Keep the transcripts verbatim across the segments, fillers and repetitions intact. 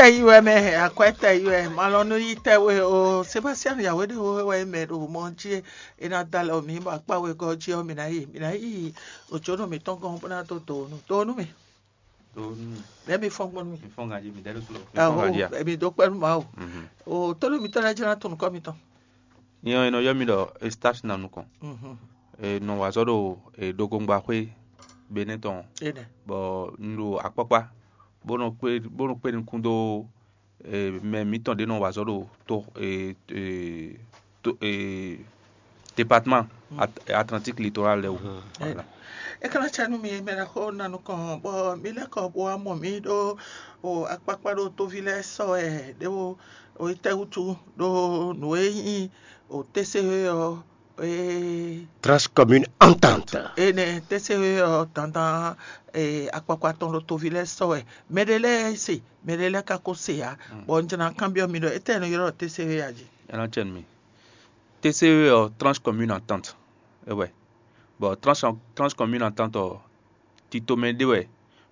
tɛ yi wɛ mɛ, akwɛ tɛ yi wɛ, malɔ nú yi tɛ we o. Sebastian Yahweh ɖe wo wɛ mɛ ɖo mɔ jí, e na da lɛ o mi bɔ akpa wegɔ́ jí ɔ́, mi ná yi, mi ná yi òjónú mǐtɔn gɔ́n bó ná dó do nú do nú mi. Ɖó nú mi, Lɛ́ mi fɔ́n gbɔn nú mi. Mi fɔ́n ganjí, mi ɖɛ́ ɖó tló, mi fɔ́n Aho, ganjí a? Emi dó kpɛ́ nú Mawu. Mhm. O tónú mǐtɔn lɛ́ɛ jlá to nukɔn mitɔn. Nyɛ ɔ́, è nɔ ylɔ́ mì ɖɔ Eustache ná nukɔn. Mhm. È nɔ wa azɔ̌ ɖo, e, Dogongbaxwé Benɛ́ tɔn, Énɛ́. Bɔ un ɖo akpákpá bó nɔ kpé bó nɔ kpé nukún dó, e, mɛ mǐtɔn ɖě nɔ wa azɔ̌ ɖo to, e, e, to, e, département At- Atlantique Littoral lɛ́ɛ wú. Voilà. É ka ná cɛ nú mi mɛ ɖaxó ná nukɔn bɔ mi lɛ́ kɔ bó wá mɔ mǐ ɖó o akpákpá ɖo tóví lɛ́ɛ sɔ wɛ ɖé o o yi tɛ́ wútu ɖó nǔ e nyí o tɛ́sɛ́wé ɔ́ e Transcommune Entente. Énɛ́ tɛ́sɛ́wé ɔ́ dandan e akpákpá tɔn ɖo tóví lɛ́ɛ sɔ wɛ. Mɛɖé lɛ́ɛ se, mɛɖé lɛ́ɛ ka ko se ǎ. Bɔ un jlá kanbyɔ́ mi ɖɔ étɛ́ nɔ ylɔ́ tɛ́sɛ́wé a jí? Ɛ nɔ cɛ nú mi. T C E ɔ́, Tranche Commune Entente é wɛ. Bɔ Tranche Tranche Commune Entente ɔ́, titomɛ ɖé wɛ,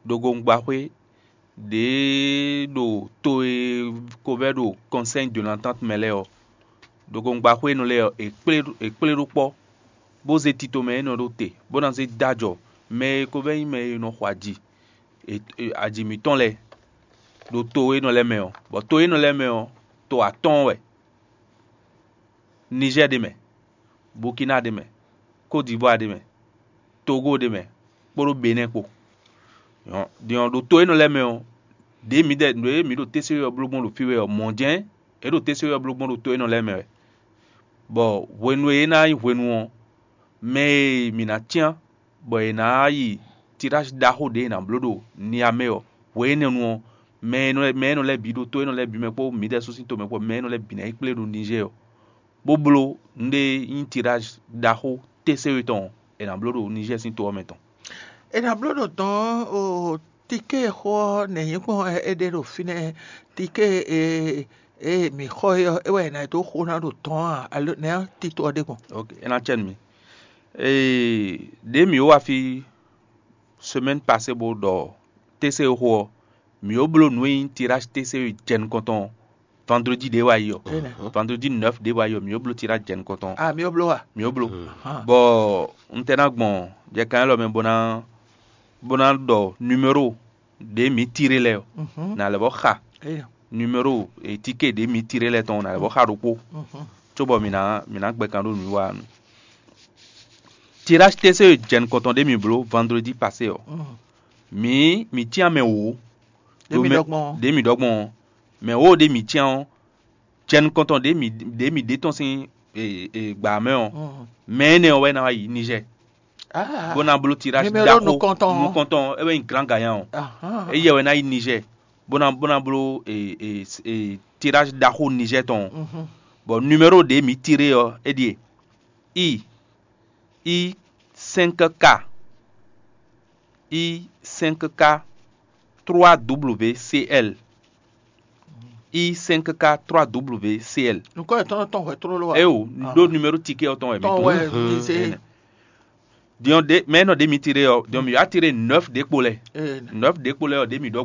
ɖogoŋgbaxwé ɖě ɖo to e ko vɛ́ ɖo Conseil de l'Entente mɛ lɛ́ɛ ɔ́, ɖogoŋgbaxwé énɛ́ lɛ́ɛ ɔ́, è kplé è kplé ɖó kpɔ́, bó zé titomɛ énɛ́ ɖó te, bó ná zé dó ajɔ mɛ e ko vɛ́ nyí mɛ e nɔ xɔ aji e- e- aji mǐtɔn lɛ́ɛ ɖo to énɛ́ lɛ́ɛ mɛ ɔ́, bɔ to énɛ́ lɛ́ɛ mɛ ɔ́, to atɔ́ɔ́n wɛ. Nizɛ́ɛ ɖ'é mɛ, Bukina ɖ'é mɛ, Kódivuwaa ɖ'é mɛ, Togo ɖ'é mɛ, kpódó Benɛ́ɛ kpó. Din ɔ́, ɖo to énɛ́ lɛ́ɛ mɛ ɔ́, ɖě mǐdɛɛ ɖě mǐ ɖo T C E ɔ́ bló gbɔn ɖo fí wɛ ɔ́, mɔ̌ jɛ́n é ɖo T C E ɔ́ bló gbɔn ɖo to énɛ́ lɛ́ɛ mɛ wɛ. Bɔ hwenu e é ná nyí hwenu ɔ́, mɛ e mǐ ná cyán bɔ è nǎ yi tirázi ɖaxó ɖě è nǎ bló ɖo Niamɛ ɔ́, hwe énɛ́ nu ɔ́, mɛ e nɔ mɛ e nɔ lɛ́ɛ bǐ ɖo to énɛ́ lɛ́ɛ bǐ mɛ kpó mǐdɛɛ sú sín tomɛ kpó mɛ e nɔ lɛ́ɛ bǐ ná yi kplé ɖo Nizɛ́ɛ ɔ́, bó bló nǔɖé nyí tirázi ɖaxó T C E tɔn è nǎ bló ɖo Nizɛ́ɛ sín to ɔ́ mɛ tɔn. È nǎ bló ɖo dɔ̌n o tiké e xó ɔ́ nɛ̌ nyí gbɔn wɛ é ɖe ɖo fínɛ́? Tiké e e mǐ xɔ é ɔ́, é wɛ è nǎ dó xo ná ɖo dɔ̌n a? Alo nɛ̌ tito ɔ́ ɖe gbɔn? Ok, é ná cɛ nú mi. Ee, ɖě mǐ wá fí semaine passée bó ɖɔ T C E xó ɔ́, mǐ ó bló nǔ e nyí tirázi T C E jɛ nukɔntɔn ɔ́, vendredi ɖě wá yi ɔ́. Énɛ́. Vendredi neuf ɖě wá yi ɔ́, mǐ ó bló tirázi jɛ nukɔntɔn ɔ́. Ah, mǐ ó bló wa. Mǐ ó bló. Ahan. Bɔ un tɛ ná gbɔn jɛkan élɔ́ mɛ bó ná bó ná ɖɔ numéro ɖě mǐ tiré lɛ́ɛ ɔ́, Mhm. nǎ lɛ́ vɔ́ xa Énɛ́. Numéro e tiké ɖě mǐ tiré lɛ́ɛ tɔn nǎ lɛ́ vɔ́ xa ɖokpó, Mhm. cóbɔ mǐ ná mǐ ná gbɛ kan ɖó nǔwiwa ɔ́ nu. Tirázi T C E jɛ nukɔntɔn ɖě mǐ bló vendredi passé ɔ́, Mhm. mǐ mǐ cyán mɛ wǒ Ɖě mí ɖɔ gbɔn ɔ́. Ɖě mǐ ɖɔ gbɔn ɔ́, mɛ wǒ ɖě mǐ cyán ɔ́, jɛ nukɔntɔn ɖě mǐ ɖě mǐ ɖe tɔn sín e, e, gbǎ mɛ ɔ́, Mhm. mɛ énɛ́ ɔ́ wɛ ná wá yi Nizɛ́ɛ, Ah. bó ná bló tirázi Numéro ɖaxó nukɔntɔn ɔ́. Nukɔntɔn ɔ́, é wɛ nyí Grand Gagnant ɔ́. Ahan. Éyɛ́ wɛ ná yi Nizɛ́ɛ, bó ná bó ná bló e, e, e, tirázi ɖaxó Nizɛ́ɛ tɔn ɔ́. Mhm. Bɔ numéro ɖě mǐ tiré ɔ́, é ɖíe: I, I cinq K, I cinq K trois W C L, I cinq K trois W C L. Nukɔn yětɔn tɔn hwɛ tlóló wa? Eo, Ah. Ɖó numéro ticket ɔ́ tɔn wɛ mǐ Tɔn tunwun. Wɛ mi se. Din ɔ́, ɖe mɛ nɔ ɖe mi tiré ɔ́, din ɔ́, mǐ wá tiré neuf ɖě kpo lɛ. Ee. Neuf ɖě kpo lɛ ɔ́, ɖě mǐ ɖɔ